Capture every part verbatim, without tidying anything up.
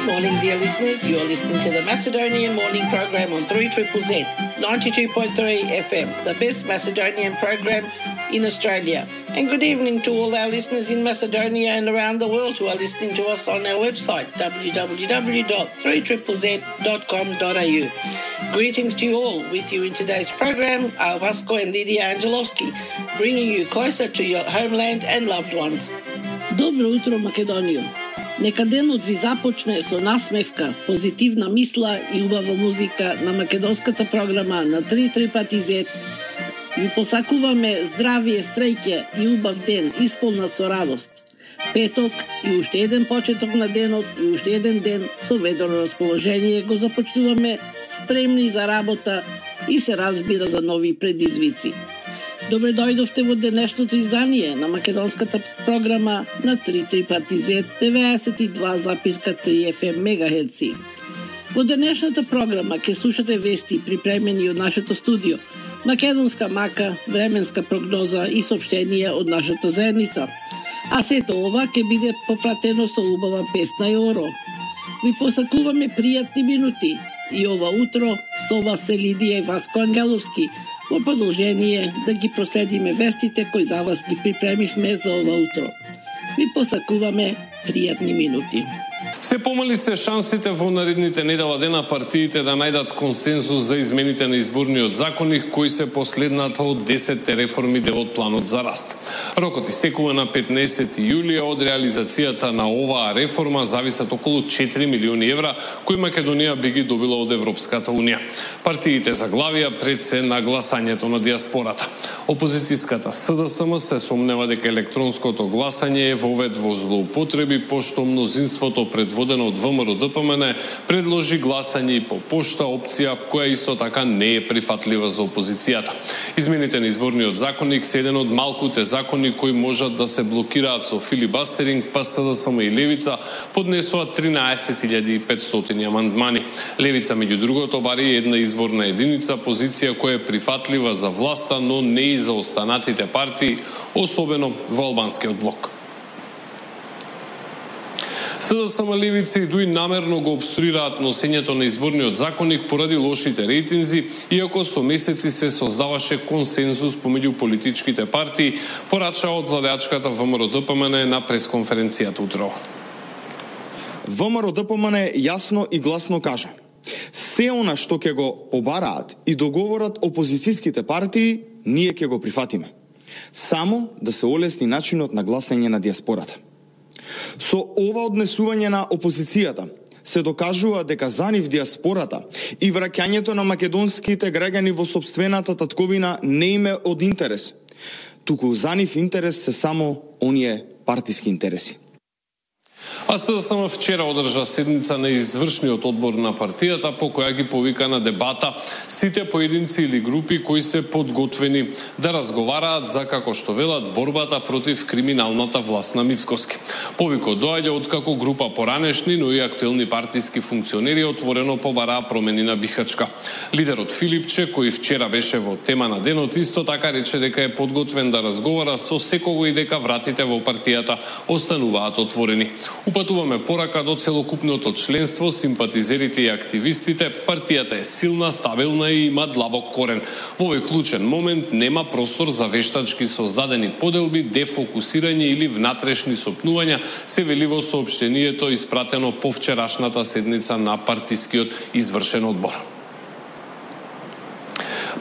Good morning, dear listeners. You are listening to the Macedonian Morning Program on three Z Z Z, ninety-two point three F M, the best Macedonian program in Australia. And good evening to all our listeners in Macedonia and around the world who are listening to us on our website, w w w dot three z z z dot com dot a u. Greetings to you all. With you in today's program are Vasco and Lydia Angelovski, bringing you closer to your homeland and loved ones. Добро утро, Македонијо. Нека денот ви започне со насмевка, позитивна мисла и убава музика на македонската програма на три три пати зет. Ви посакуваме здравие, среќа и убав ден, исполнат со радост. Петок и уште еден почеток на денот и уште еден ден со ведро расположение го започнуваме, спремни за работа и се разбира за нови предизвици. Добре дојдовте во денешното издание на македонската програма на три три пати зет деветдесет и два запир три Ф М мегахерци. Во денешната програма ќе слушате вести припремени од нашето студио, македонска мака, временска прогноза и соопштенија од нашата заедница. А сето ова ќе биде попратено со убава песна и оро. Ви посакуваме пријатни минути и ова утро со вас се Лидија и Васко Ангеловски, во продолжение да ги проследиме вестите кои за вас ги припремивме за ова утро. Ви посакуваме пријатни минути. Се помали се шансите во наредните недела дена партиите да најдат консензус за измените на изборниот законник кои се последната од десетте реформи дел од планот за раст. Рокот истекува на петнаесети јулија. Од реализацијата на оваа реформа зависат околу четири милиони евра кои Македонија би ги добила од Европската унија. Партиите заглавија пред се на гласањето на диаспората. Опозицијската С Д С М се сомнева дека електронското гласање е вовед во злоупотреби, пошто мнозинството предводено од В М Р Д П М Н предложи гласање и по пошта, опција која исто така не е прифатлива за опозицијата. Измените на изборниот законник се еден од малкуте закони кои можат да се блокираат со филибастеринг, па С Д С М и Левица поднесоа тринаесет илјади и петстотини амандмани. Левица, меѓу другото, бари една изборна единица, позиција која е прифатлива за власта, но не и за останатите партии, особено во албанскиот блок. С Д С М, Левица и Дуи намерно го обструираат носењето на изборниот законник поради лошите рейтинзи, иако со месеци се создаваше консензус помеѓу политичките партии, порача од владеачката В М Р Д П М Н на пресконференцијата утро. В М Р Д П М Н јасно и гласно кажа: се она што ќе го побараат и договорат опозицијските партии, ние ќе го прифатиме. Само да се олесни начинот на гласање на диаспората. Со ова однесување на опозицијата се докажува дека за нив диаспората и враќањето на македонските граѓани во сопствената татковина не им е од интерес, туку за нив интерес се само оние партиски интереси. А С Д С М вчера одржа седница на извршниот одбор на партијата, по која ги повика на дебата сите поединци или групи кои се подготвени да разговараат за, како што велат, борбата против криминалната власт на Мицкоски. Повикот доаѓа откако група поранешни, но и актуелни партиски функционери отворено побараа промени на Бихачка. Лидерот Филипче, кој вчера беше во тема на денот, исто така рече дека е подготвен да разговара со секого и дека вратите во партијата остануваат отворени. Упатуваме порака до целокупното членство, симпатизерите и активистите. Партијата е силна, стабилна и има длабок корен. Во овој клучен момент нема простор за вештачки создадени поделби, дефокусирање или внатрешни сопнувања, се вели во соопштението испратено по вчерашната седница на партискиот извршен одбор.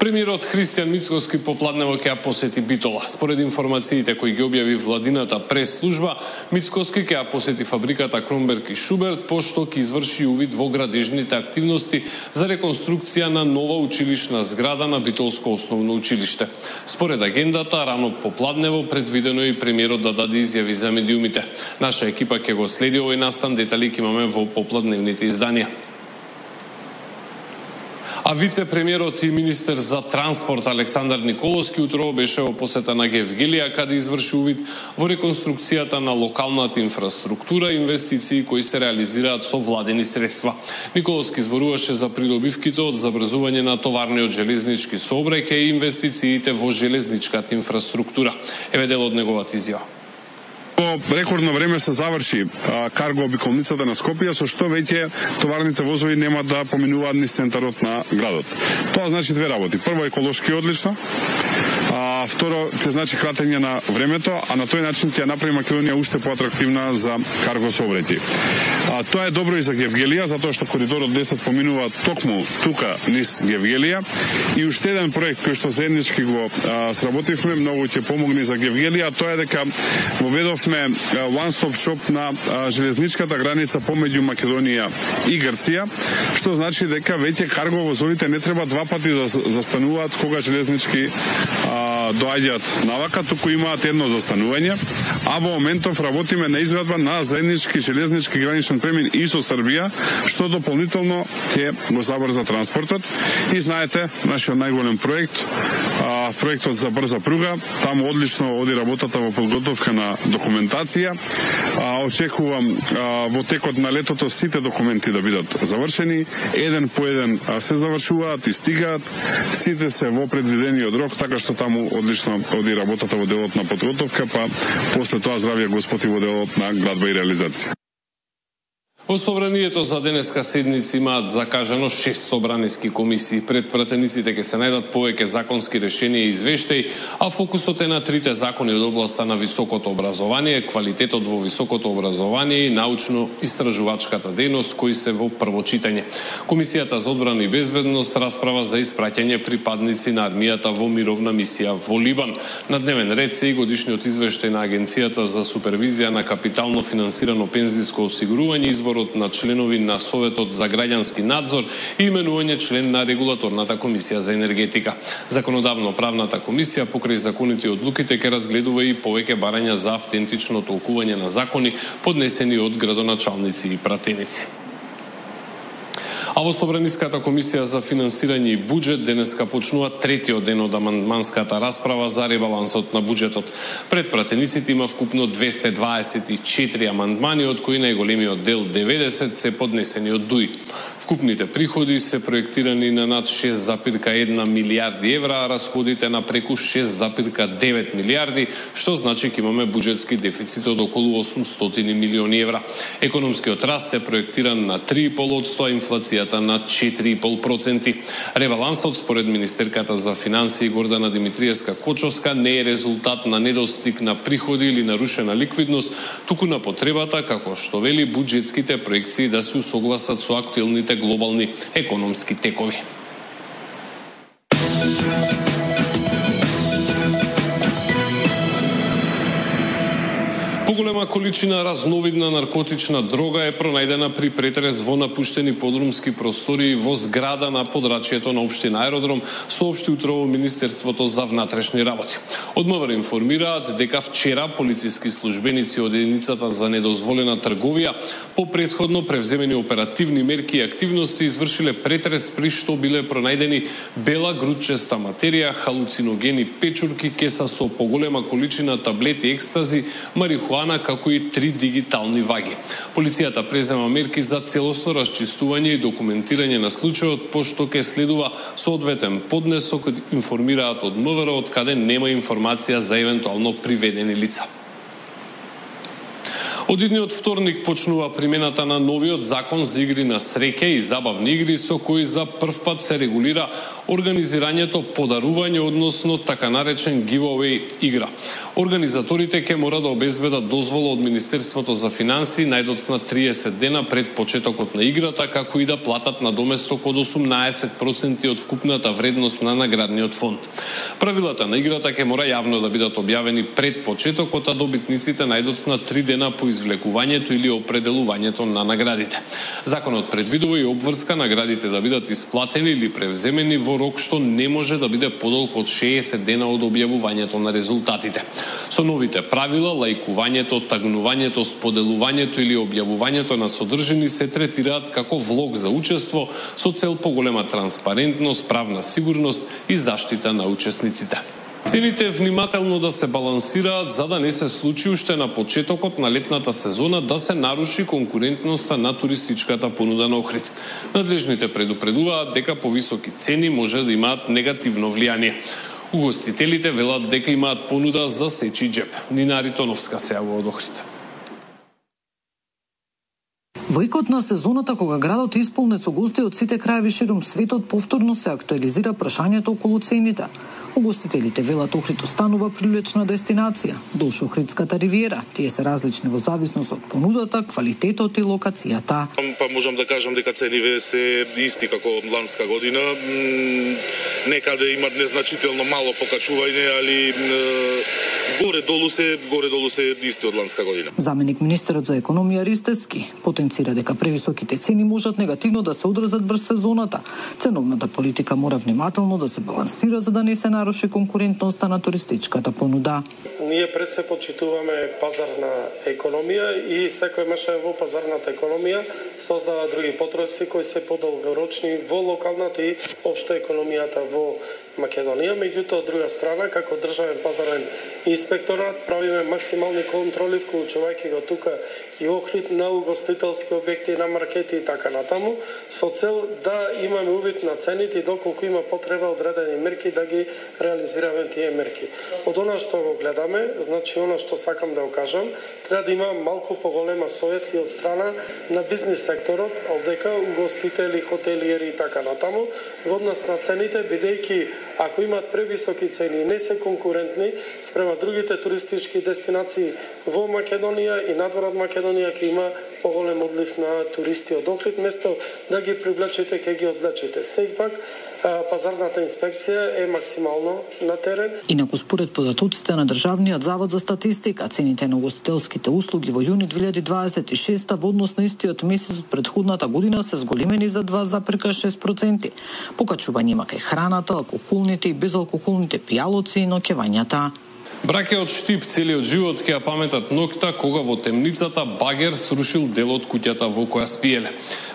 Премиерот Христијан Мицкоски попладнево ќе ја посети Битола. Според информациите кои ги објави владината прес-служба, Мицкоски ќе ја посети фабриката Кромберг и Шуберт, пошто ќе изврши увид во градежните активности за реконструкција на нова училишна зграда на Битолско основно училиште. Според агендата, рано попладнево предвидено и премиерот да даде изјави за медиумите. Наша екипа ќе го следи овој настан, детали ќе имаме во попладневните изданија. А вице-премиерот и министер за транспорт Александар Николовски утрово беше во посета на Гевгелија, каде изврши увид во реконструкцијата на локалната инфраструктура и инвестиции кои се реализираат со владени средства. Николовски зборуваше за придобивките од забрзување на товарниот железнички сообраќај и инвестициите во железничката инфраструктура. Еве дел од неговата изјава. Во рекордно време се заврши а, карго обиколницата на Скопје, со што веќе товарните возови нема да поминуваат низ центарот на градот. Тоа значи две работи. Прво, еколошки одлично, а второ, те значи кратење на времето, а на тој начин ќе направи Македонија уште поатрактивна за карго сообраќај. А тоа е добро и за Гевгелија, затоа што коридорот десет поминува токму тука низ Гевгелија, и уште еден проект кој што заеднички го а, сработивме, многу ќе помогне за Гевгелија, тоа е дека воведовме one-stop shop на а, железничката граница помеѓу Македонија и Грција, што значи дека веќе карго возовите не треба два пати да застануваат кога железнички а, доаѓаат навака, туку имаат едно застанување, а во моментов работиме на изградба на заеднички железнички граничен премин и со Србија, што дополнително ќе го забрза транспортот. И знаете, нашиот најголем проект, а, проектот за брза пруга, таму одлично оди работата во подготовка на документација. А, очекувам а, во текот на летото сите документи да бидат завршени, еден по еден а, се завршуваат и стигаат, сите се во предвидениот рок, така што таму одлично оди работата во делот на подготовка, па после тоа здравје Господ и во делот на градба и реализација. Во собранието за денеска седница имаат закажано шест собраниски комисии. Пред пратениците ќе се најдат повеќе законски решенија и извештаи, а фокусот е на трите закони од областа на високото образование, квалитетот во високото образование и научно-истражувачката дејност, кои се во прво читање. Комисијата за одбрана и безбедност расправа за испраќање припадници на армијата во мировна мисија во Либан. На дневен ред се и годишниот извештај на Агенцијата за супервизија на капитално финансирано пензиско осигурување, изборот на членови на Советот за граѓански надзор и именување член на Регулаторната комисија за енергетика. Законодавно-правната комисија покрај законите и одлуките ќе разгледува и повеќе барања за автентично толкување на закони поднесени од градоначалници и пратеници. А во Собраниската комисија за финансирање и буџет денеска почнува третиот ден од амандманската расправа за ребалансот на буџетот. Пред пратениците има вкупно двесте дваесет и четири амандмани, од кои најголемиот дел деветдесет се поднесени од ДУИ. Вкупните приходи се проектирани на над шест запирка една милијарди евра, а расходите на преку шест запирка девет милијарди, што значи ќе имаме буџетски дефицит од околу осумстотини милиони евра. Економскиот раст е проектиран на три и пол одсто, а инфлацијата на четири и пол проценти. Ребалансот според министерката за финансии Гордана Димитриевска-Кочовска не е резултат на недостиг на приходи или нарушена ликвидност, туку на потребата, како што вели, буџетските проекции да се усогласат со актуелните глобални економски текови. Поголема количина разновидна наркотична дрога е пронајдена при претрес во напуштени подрумски простори во зграда на подрачјето на општина Аеродром, соопшти утрово Министерството за внатрешни работи. Од МВР информираат дека вчера полициски службеници од единицата за недозволена трговија по претходно превземени оперативни мерки и активности извршиле претрес при што биле пронајдени бела грудчеста материја, халуциногени печурки, кеса со поголема количина таблети екстази, марихуана, како и три дигитални ваги. Полицијата презема мерки за целосно расчистување и документирање на случајот, пошто ќе следува соодветен поднесок, информираат од МВР, од каде нема информација за евентуално приведени лица. Од идниот вторник почнува примената на новиот закон за игри на среќа и забавни игри, со кој за прв пат се регулира организирањето подарување, односно така наречен giveaway игра. Организаторите ќе мора да обезбедат дозвола од Министерството за финансии најдоцна триесет дена пред почетокот на играта, како и да платат надоместок од осумнаесет проценти од вкупната вредност на наградниот фонд. Правилата на играта ќе мора јавно да бидат објавени пред почетокот, а добитниците најдоцна три дена по извлекувањето или определувањето на наградите. Законот предвидува и обврска наградите да бидат исплатени или превземени во рок што не може да биде подолго од шеесет дена од објавувањето на резултатите. Со новите правила, лајкувањето, тагнувањето, споделувањето или објавувањето на содржини се третираат како влог за учество со цел поголема транспарентност, правна сигурност и заштита на учесниците. Цените внимателно да се балансираат за да не се случи уште на почетокот на летната сезона да се наруши конкурентноста на туристичката понуда на Охрид. Надлежните предупредуваат дека повисоки цени може да имаат негативно влијание. Угостителите велат дека имаат понуда за сечи джеп. Нина Ритоновска се јавува од Охрид. Во икот на сезоната, кога градот е исполнет со гости од сите краеви ширум светот, повторно се актуализира прашањето околу цените. Угостителите велат Охрид останува привлечна дестинација. Душ Охридската ривиера, тие се различни во зависност од понудата, квалитетот и локацијата. Па можам да кажам дека цениве се исти како ланска година. Некаде имат незначително мало покачување, али горе-долу се горе-долу се исти од ланска година. Заменик министерот за економија Ристевски потенцира дека превисоките цени можат негативно да се одразат врз сезоната. Ценовната политика мора внимателно да се балансира за да не се наруши конкурентноста на туристичката понуда. Ние пред се почитуваме пазарна економија и секој мешање во пазарната економија создава други потреси кои се подолгорочни во локалната и општо економијата во Македонија. Меѓутоа, од друга страна, како државен пазарен инспекторат, правиме максимални контроли, вклучувајќи го тука и Охрид на угостителски објекти, на маркети и така натаму, со цел да имаме увид на цените и доколку има потреба одредени мерки да ги реализираме тие мерки. Од она што го гледаме, значи она што сакам да го кажам, треба да има малку поголема совест и од страна на бизнис секторот, овдека угостители, хотелиери и така натаму, во однос на цените, бидејќи ако имаат превисоки цени и не се конкурентни спрема другите туристички дестинации во Македонија и надвор од Македонија, ќе има поголем одлив на туристи од Охрид, место да ги привлечете, ќе ги одвлечете. Сепак пазарната инспекција е максимално на терен. Инаку според податоците на Државниот завод за статистика, цените на угостителските услуги во јуни две илјади дваесет и шеста во однос на истиот месец од претходната година се зголемени за два зарез шест проценти. Покачување има кај храната, алкохолните и безалкохолните пијалоци и ноќевањата. Браке од Штип целиот живот ќе ја паметат ноќта кога во темницата багер срушил дел од куќата во која спиеле.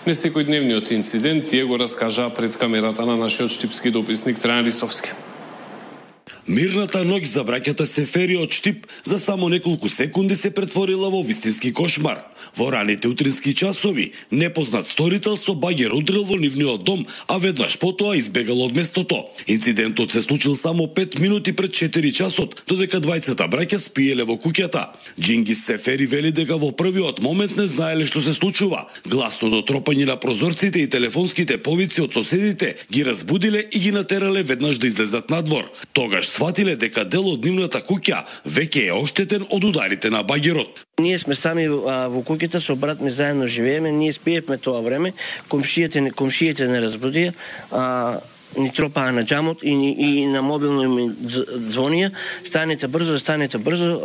Не секојдневниот инцидент тие го раскажаа пред камерата на нашиот штипски дописник Трајан Ристовски. Мирната ноќ за браќата Сефери од Штип за само неколку секунди се претворила во вистински кошмар. Во раните утрински часови, непознат сторител со багер удрил во нивниот дом, а веднаш потоа избегал од местото. Инцидентот се случил само пет минути пред четири часот, додека двајцата браќа спиеле во куќата. Џингис Сефери вели дека во првиот момент не знаеле што се случува. Гласното тропање на прозорците и телефонските повици од соседите ги разбудиле и ги натерале веднаш да излезат надвор. Тогаш сватиле дека дел од нивната куќа веќе е оштетен од ударите на багерот. Ние сме сами а, во куќата со брат ми заедно живееме, ние спиевме тоа време, комшиите комшиите не разбудија, а ни тропаа на џамот и, и на мобилно ми звонија, станете брзо, станете брзо,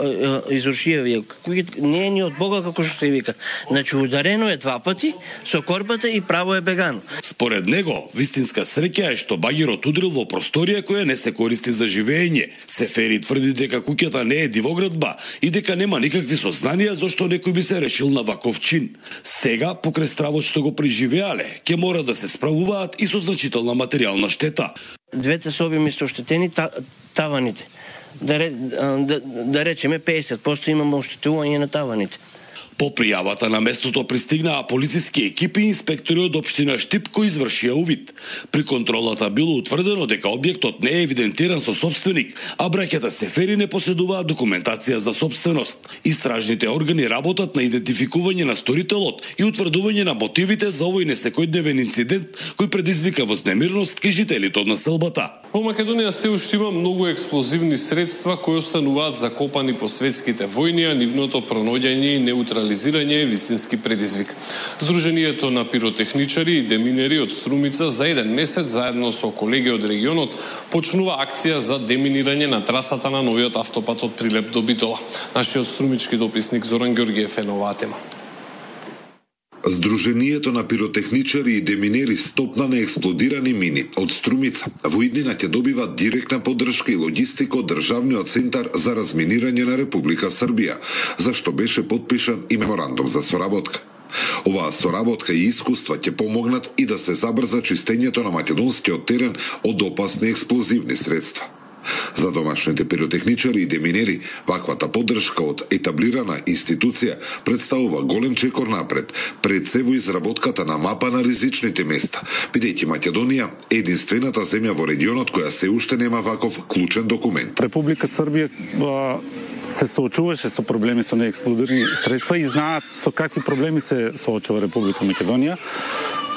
изрушија вие. Куќата не е ни од Бога како што се вика. Значи ударено е два пати со корбата и право е бегано. Според него, вистинска среќа е што багерот удрил во просторија која не се користи за живење. Сефери тврди дека куќата не е дивоградба и дека нема никакви сознанија зашто некој би се решил на ваков чин. Сега, покрај стравот што го преживеале, ќе мора да се справуваат и со значителна материјална штета. Двете соби ми се оштетени та, таваните. Да, да, да речеме песет проценти имаме оштетување на таваните. По пријавата на местото пристигнаа полициски екипи и инспектори од општина Штип кои извршија увид. При контролата било утврдено дека објектот не е евидентиран со собственик, а браќата Сефери не поседуваат документација за собственост. Истражните органи работат на идентификување на сторителот и утврдување на мотивите за овој несекојдневен инцидент кој предизвика вознемирност кај жителите од населбата. Во Македонија се уште има многу експлозивни средства кои остануваат закопани по светските војни, а нивното пронаоѓање и неутрализирање е вистински предизвик. Сдруженијето на пиротехничари и деминери од Струмица за еден месец заедно со колеги од регионот почнува акција за деминирање на трасата на новиот автопат од Прилеп до Битола. Нашиот струмички дописник Зоран Ѓоргиев е на оваа тема. Сдруженијето на пиротехничари и деминери стопна на експлодирани мини од Струмица во иднина ќе добиват директна поддршка и логистика од Државниот центар за разминирање на Република Србија, за што беше подпишан и меморандум за соработка. Оваа соработка и искуства ќе помогнат и да се забрза чистењето на македонскиот терен од опасни експлозивни средства. За домашните пиротехничари и деминери, ваквата поддршка од етаблирана институција представува голем чекор напред, пред се во изработката на мапа на ризичните места, бидејќи Македонија е единствената земја во регионот која се уште нема ваков клучен документ. Република Србија се соочуваше со проблеми со неексплодирани средства и знаат со какви проблеми се соочува Република Македонија.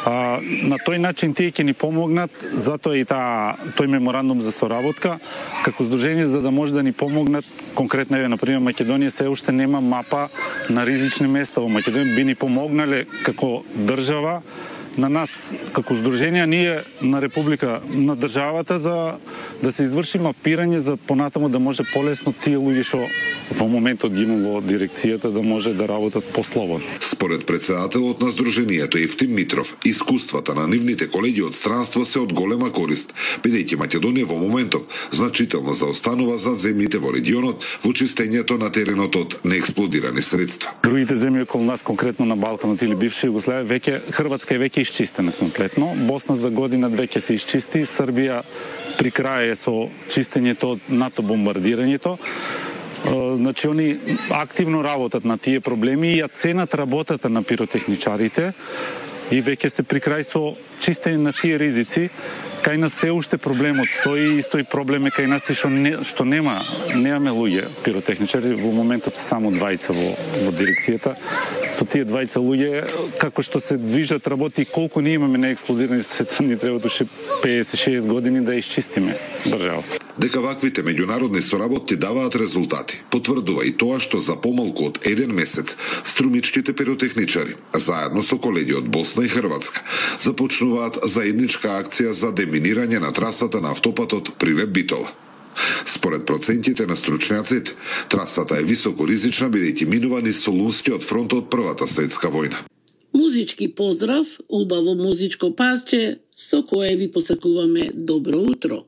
А, на тој начин тие ќе ни помогнат, затоа и таа тој меморандум за соработка како здружение за да може да ни помогнат. Конкретно е, например, Македонија се уште нема мапа на ризични места во Македонија, би ни помогнале како држава на нас како здружение, ние на Република, на државата за да се изврши мапирање за понатаму да може полесно тие луѓе што во моментот ги имам во дирекцијата да може да работат послободно. Според председателот на здруженијето Евтим Митров, искуствата на нивните колеги од странство се од голема корист, бидејќи Македонија во моментов значително заостанува зад земјите во регионот во чистењето на теренот од неексплодирани средства. Другите земји околу нас, конкретно на Балканот или бивша Југославија, веќе Хрватска е веќе исчистена комплетно, Босна за година две ќе се исчисти, Србија при крај е со чистењето од НАТО бомбардирањето. Значи, они активно работат на тие проблеми и ја ценат работата на пиротехничарите и веќе се при крај со чистење на тие ризици. Кај нас се уште проблемот стои и стои проблем е кај нас и што, не, што нема, немаме луѓе пиротехничари, во моментот само двајца во, во дирекцијата. Со тие двајца луѓе, како што се движат работи и колку ние имаме неексплодирани средства, ни треба уште песет шест години да исчистиме државата. Дека ваквите меѓународни соработки даваат резултати, потврдува и тоа што за помалку од еден месец струмичките пиротехничари, заедно со колеги од Босна и Хрватска, започнуваат заедничка акција за деминирање на трасата на автопатот Прилеп-Битола. Според процентите на стручњаците, трасата е високо ризична бидејќи минува низ Солунскиот фронт од Првата светска војна. Музички поздрав, убаво музичко парче со кое ви посакуваме добро утро.